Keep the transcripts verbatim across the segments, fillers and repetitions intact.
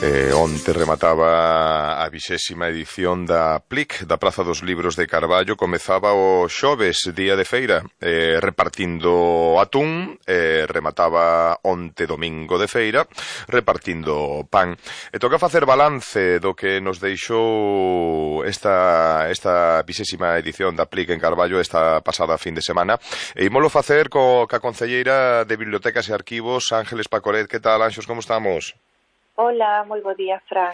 Eh, onte remataba a vixésima edición da P L I C, da Praza dos Libros de Carballo. Comezaba o xoves, día de feira, eh, repartindo atún, eh, remataba onte domingo de feira, repartindo pan. E toca facer balance do que nos deixou esta, esta vixésima edición da P L I C en Carballo esta pasada fin de semana. E ímolo facer co, ca concelleira de Bibliotecas e Arquivos, Ángeles Pacoret. Que tal, Anxos, como estamos? Hola, moi bo día, Fran.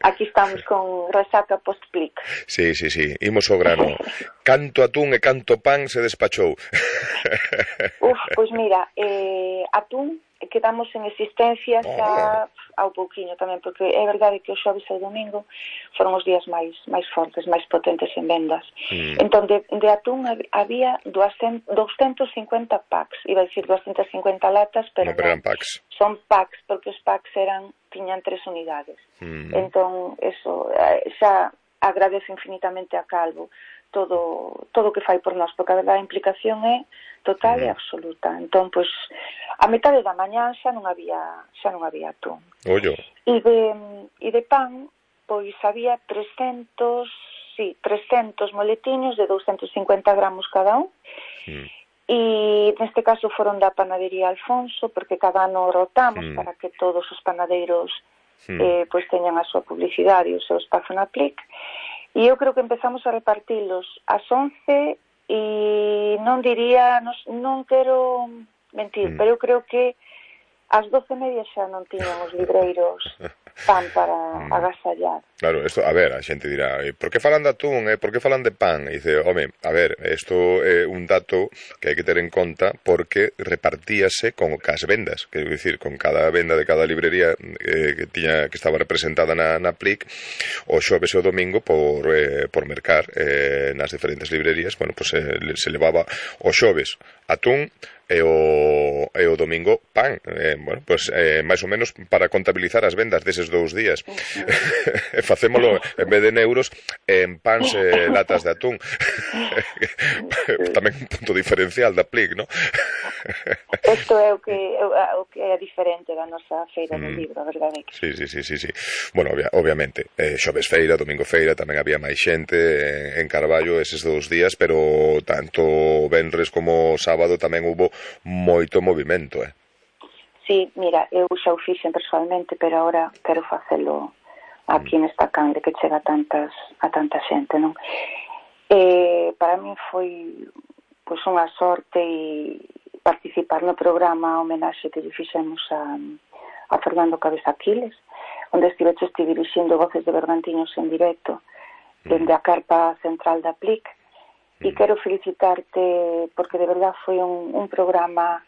Aquí estamos con resaca post-P L I C. Sí, sí, sí, imos ao grano. Canto atún e canto pan se despachou. Uf, pois mira, eh, atún quedamos en existencia xa ao pouquiño tamén, porque é verdade que o xoves e o domingo foron os días máis máis fortes, máis potentes en vendas. Mm. Entón, de, de atún había doscientos cincuenta packs, iba a dicir doscientas cincuenta latas, pero no, pero eran packs. Son packs, porque os packs eran, tiñan tres unidades. Mm. Entón, eso, xa agradezo infinitamente a Calvo todo todo o que fai por nós, porque a verdade a implicación é total mm. e absoluta. Entón, pois, a metade da mañá xa non había xa non había atún. Ollo. E de, e de pan, pois había trescentos, sí, trescentos moletiños de doscientos cincuenta gramos cada un. Mm. E neste caso foron da panadería Alfonso, porque cada ano rotamos mm. para que todos os panadeiros mm. eh, pois teñan a súa publicidade e o seu espazo na P L I C. E eu creo que empezamos a repartilos ás once e non diría, non, non quero mentir, mm. pero eu creo que ás doce e media xa non tiñan os libreiros pan para mm. agasallar. Claro, esto, a ver, a xente dirá, por que falan de atún, eh? por que falan de pan? E dice, home, a ver, isto é un dato que hai que ter en conta porque repartíase con cas vendas, quero dicir, con cada venda de cada librería eh, que tiña que estaba representada na, na P L I C, o xoves e o domingo por, eh, por mercar eh, nas diferentes librerías, bueno, pues eh, se levaba o xoves atún e o, e o domingo pan, eh, bueno, pues eh, máis ou menos para contabilizar as vendas deses dous días. Uh-huh. Facémolo en vez de en euros en pans e latas de atún. Tamén un punto diferencial da P L I C, ¿no? Isto é o que, o que é diferente da nosa feira do mm. libro, a verdade é que... Sí, sí, sí, sí, sí. Bueno, obvia, obviamente, eh, xoves feira, domingo feira, tamén había máis xente en, en Carballo eses dous días, pero tanto venres como sábado tamén hubo moito movimento, eh? Sí, mira, eu xa o fixen personalmente, pero agora quero facelo aquí mm. nesta cande que chega a tantas a tanta xente, non? Eh, para min foi pois unha sorte e participar no programa homenaxe que lle fixemos a, a Fernando Cabeza Aquiles, onde estiveches ti dirixindo Voces de Bergantiños en directo dende a carpa central da P L I C, e quero felicitarte porque de verdad foi un, un programa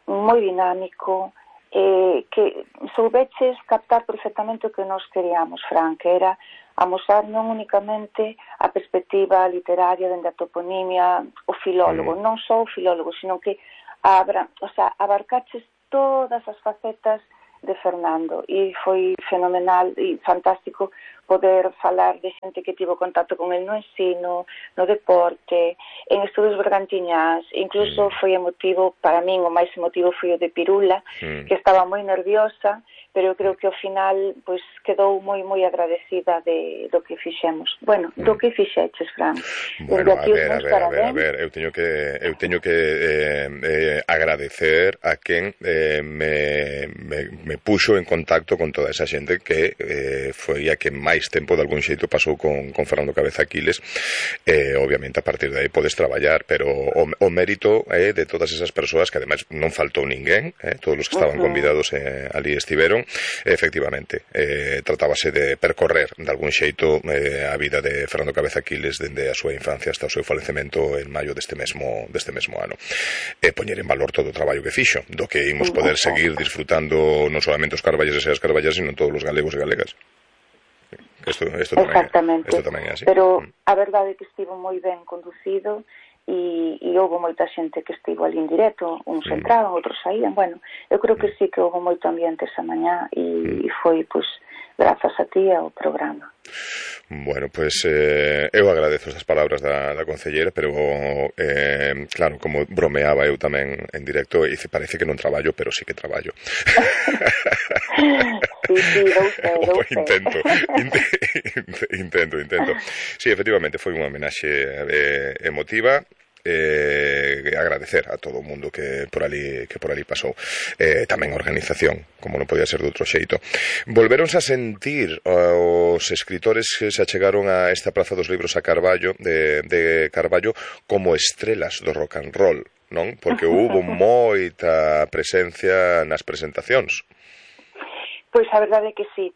moi dinámico, eh, que soubeches captar perfectamente o que nos queríamos, Fran, que era amosar non únicamente a perspectiva literaria dende a toponimia, o filólogo, mm. non só o filólogo, sino que abra, o sea, abarcaches todas as facetas de Fernando, e foi fenomenal e fantástico poder falar de xente que tivo contacto con el no ensino, no deporte, en estudos bergantiñás. Incluso foi emotivo, para min o máis emotivo foi o de Pirula, mm. que estaba moi nerviosa, pero eu creo que ao final pois quedou moi moi agradecida de do que fixemos. Bueno, mm. do que fixeches, Fran. Bueno, a ver, a ver, a ver, a ver, eu teño que eu teño que eh, eh, agradecer a quen eh, me, me, me puxo en contacto con toda esa xente que eh, foi a que máis tempo de algún xeito pasou con, con Fernando Cabeza Aquiles. Eh, obviamente a partir de aí podes traballar, pero o, o mérito é eh, de todas esas persoas que ademais non faltou ninguén, eh, todos os que estaban uh-huh. convidados eh, ali estiveron. Efectivamente, eh, tratábase de percorrer de algún xeito eh, a vida de Fernando Cabeza Aquiles dende a súa infancia hasta o seu falecemento en maio deste mesmo deste mesmo ano. E poñer en valor todo o traballo que fixo, do que imos poder seguir disfrutando non solamente os carballeses e as carballas, sino todos os galegos e galegas. Esto, esto tamén, exactamente, esto tamén é así. Pero a verdade é que estivo moi ben conducido e, e houve moita xente que estivo ali en directo, uns mm. entraban, outros saían. Bueno, eu creo que sí que houve moito ambiente esa mañá e, mm. e foi, pois, grazas a ti ao programa. Bueno, pues eh, eu agradezo estas palabras da, da concelleira, pero eh, claro, como bromeaba eu tamén en directo, e parece que non traballo, pero sí que traballo. Sí, sí, dou fe, dou fe. Intento, intento, intento. Sí, efectivamente, foi unha homenaxe eh, emotiva. Eh, agradecer a todo o mundo que por ali que por ali pasou, eh, tamén a organización, como non podía ser de outro xeito. Volveronse a sentir os escritores que se achegaron a esta Praza dos Libros a Carballo de, de Carballo como estrelas do rock and roll, non? Porque hubo moita presencia nas presentacións. Pois a verdade é que sí.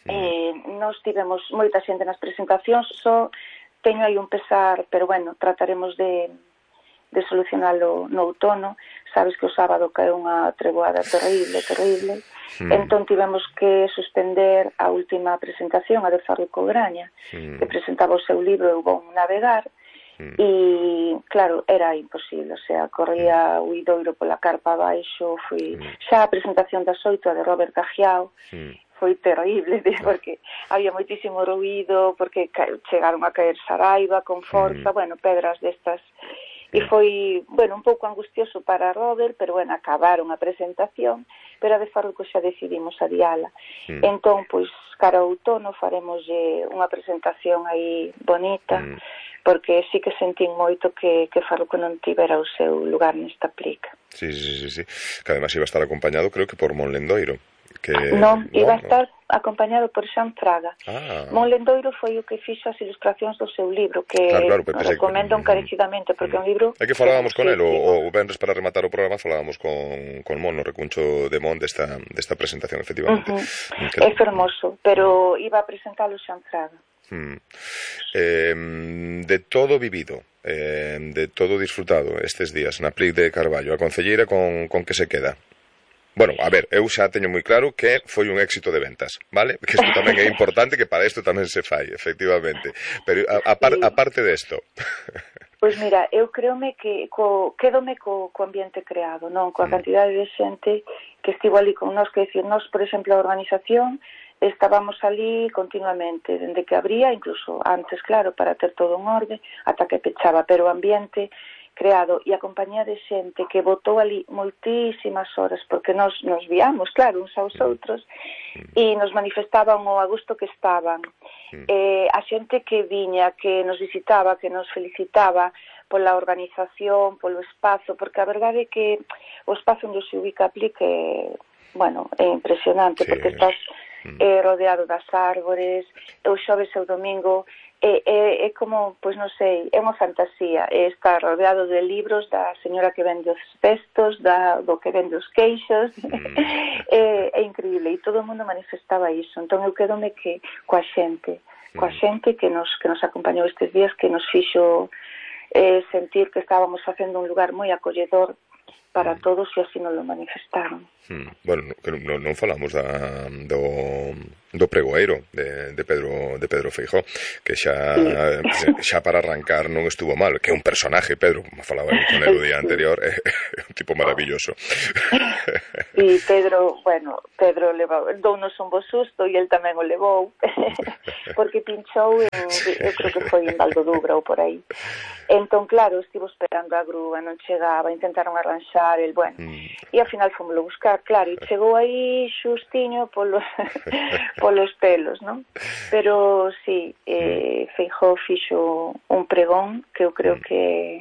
Mm. Eh, nós tivemos moita xente nas presentacións, só teño aí un pesar, pero bueno, trataremos de, de solucionalo no outono. Sabes que o sábado caeu unha treboada terrible, terrible. Mm. Entón tivemos que suspender a última presentación, a de Farruco Graña, mm. que presentaba o seu libro Eu vou navegar, mm. e, claro, era imposible, o sea, corría o idoiro pola carpa abaixo, foi mm. xa a presentación das oito, a de Robert Cajiao, mm. foi terrible, porque había moitísimo ruído, porque chegaron a caer Saraiva con forza, mm. bueno, pedras destas, e foi, bueno, un pouco angustioso para Robert, pero, bueno, acabaron a presentación, pero a de Farruco xa decidimos adiala. Mm. Entón, pois, cara ao outono faremos unha presentación aí bonita, mm. porque sí que sentín moito que, que Farruco non tivera o seu lugar nesta plica. Sí, sí, sí, sí, que además iba a estar acompañado, creo que por Monlendoiro. Que... Non, iba a estar acompañado por Xan Fraga. Ah. Monlendoiro foi o que fixo as ilustracións do seu libro, que claro, claro, recomendo que... encarecidamente, porque é un libro... É que falábamos con el, o, o venres para rematar o programa, falábamos con, con Mon, no recuncho de Mon desta, desta presentación, efectivamente. Uh -huh. que... É fermoso, pero iba a presentalo Xan Fraga. Hmm. Eh, de todo vivido, eh, de todo disfrutado estes días na Plic de Carballo, a concelleira con, con que se queda? Bueno, a ver, eu xa teño moi claro que foi un éxito de ventas, vale? Que isto tamén é importante, que para isto tamén se fai, efectivamente. Pero a, a, par, a parte desto... Pois mira, eu creome que co, quedome co, co ambiente creado, non? Coa cantidade de xente que estivo ali con nós, que decir, nós, por exemplo, a organización, estábamos ali continuamente, dende que abría, incluso antes, claro, para ter todo en orde, ata que pechaba, pero o ambiente creado e a compañía de xente que botou ali moitísimas horas, porque nos, nos viamos, claro, uns aos outros, e nos manifestaban o a gusto que estaban. Eh, a xente que viña, que nos visitaba, que nos felicitaba pola organización, polo espazo, porque a verdade é que o espazo onde se ubica a Plic é, bueno, é impresionante, sí, porque estás eh, rodeado das árbores, o xoves e o domingo, É, é, é como, pois non sei, é unha fantasía, é estar rodeado de libros da señora que vende os cestos, da, do que vende os queixos, mm. é, é increíble, e todo o mundo manifestaba iso. Entón eu quedome que coa xente, coa xente que nos, que nos acompañou estes días, que nos fixo eh, sentir que estábamos facendo un lugar moi acolledor para todos, e así nos lo manifestaron. Hmm. Bueno, non, non falamos da, do, do pregoeiro de, de Pedro de Pedro Feijóo, que xa sí. xa para arrancar non estuvo mal, que é un personaje, Pedro, como falaba con el o día anterior, é, é un tipo maravilloso. E Pedro, bueno, Pedro levou, dounos un bo susto e el tamén o levou, porque pinchou en, eu creo que foi en Valdodubra ou por aí. Entón, claro, estivo esperando a grúa, non chegaba, intentaron arranxar el, bueno, mm. e ao final fomoslo buscar, claro, e chegou aí xustiño polos, polos pelos, non? Pero, sí, eh, Feijóo fixo un pregón que eu creo que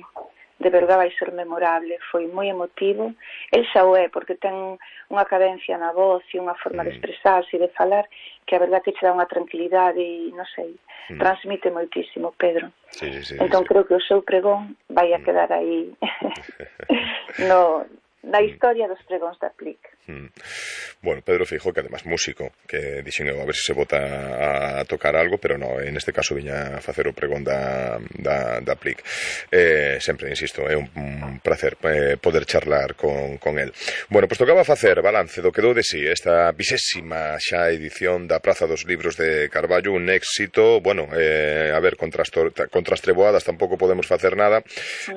de verdade vai ser memorable, foi moi emotivo. El xa o é, porque ten unha cadencia na voz e unha forma de expresarse e de falar que a verdade que che dá unha tranquilidade e, non sei, transmite moitísimo, Pedro. Sí, sí, sí, entón sí. Creo que o seu pregón vai a quedar aí no, na historia dos pregóns da Plic. Mm. Bueno, Pedro Feijóo, que además músico, que dixen a ver se se bota a tocar algo, pero no, en este caso viña a facer o pregón da, da, da Plic. Eh, sempre, insisto, é un, un placer eh, poder charlar con, con el. Bueno, pois pues tocaba facer balance do que dou de si esta vixésima xa edición da Praza dos Libros de Carballo, un éxito, bueno, eh, a ver, contra as, contra as treboadas tampouco podemos facer nada,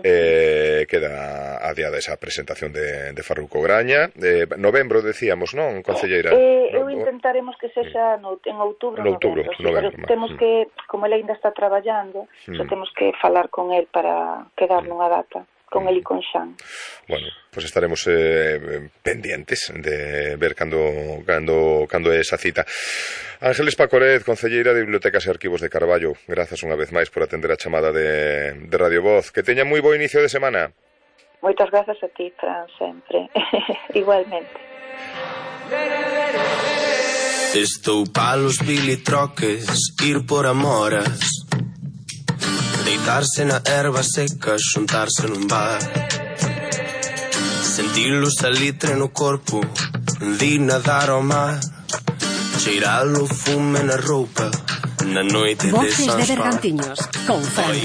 eh, queda adiada esa presentación de, de Farruco Graña, eh, novembro decíamos, non, concelleira? Eh, eu intentaremos que sexa no, en outubro, no outubro, novembro, sí, novembro, pero temos que, como ele ainda está traballando, mm. xa temos que falar con el para quedar nunha data. con el y con Xan. Bueno, pues estaremos eh, pendientes de ver cando, cando, cando é esa cita. Ángeles Pacoret, concelleira de Bibliotecas e Arquivos de Carballo, grazas unha vez máis por atender a chamada de, de Radio Voz. Que teña moi bo inicio de semana. Moitas grazas a ti, Fran, sempre. Igualmente. Estou palos bilitroques, ir por amoras, deitarse na erva seca, xuntarse nun bar, sentir o salitre no corpo, di nadar ao mar, cheirar o fume na roupa, na noite de San Juan. Voces de Bergantiños, con Fran